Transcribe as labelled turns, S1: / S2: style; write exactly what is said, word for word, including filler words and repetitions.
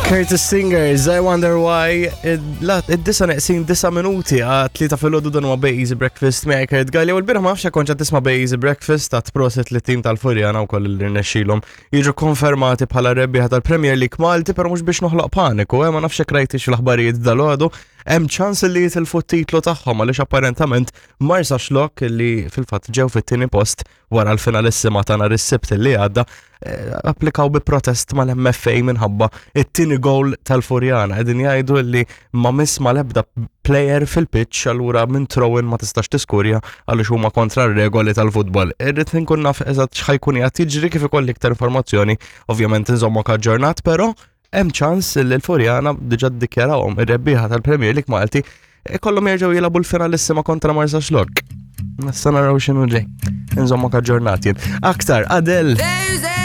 S1: Curtis Singers, I Wonder Why, id-disa neqsin disa minuti għat tlieta filgħodu, dan huwa Bay Easy Breakfast miegħi Kurt Galli, u l-bieraħ ma nafx kont tisma' Bay Easy Breakfast ta' prosit li tim tal-Furjana wkoll li rnexxilhom jiġu konfermati bħala rebbieħa tal-Premier League Malti, però mhux biex noħloq paniku, eh, ma nafx hekk rajtix l-aħbarijiet dalgħodu, hemm ċans li jitilfu t-titlu tagħhom għaliex apparentament Marsaxlokk, li fil-fatt ġew fit-tieni post wara l-finalissima ta' nhar is-Sibt li għadda, eh, applikaw bi protest mal-M F A minħabba it-tieni goal tal-Furjana. Qegħdin jgħidu li ma miss mal-ebda player fil-pitch, allura minn throw-in ma tistax tiskurja għaliex huma kontra r-regoli tal-futbol. Irrid nkun naf eżatt x'ħa jkun qiegħed jiġri, kif ikolli iktar informazzjoni, ovvjament inżommok aġġornat, però hemm ċans li l-Furjana, diġà ddikjarawhom ir-rebbieħa tal-Premier League Malti, ikollhom jerġgħu jilagħbu l-finalissima kontra Marsaxlokk. Nista' naraw x'inhu ġej. Inżommok aġġornat jien. Aktar Adele.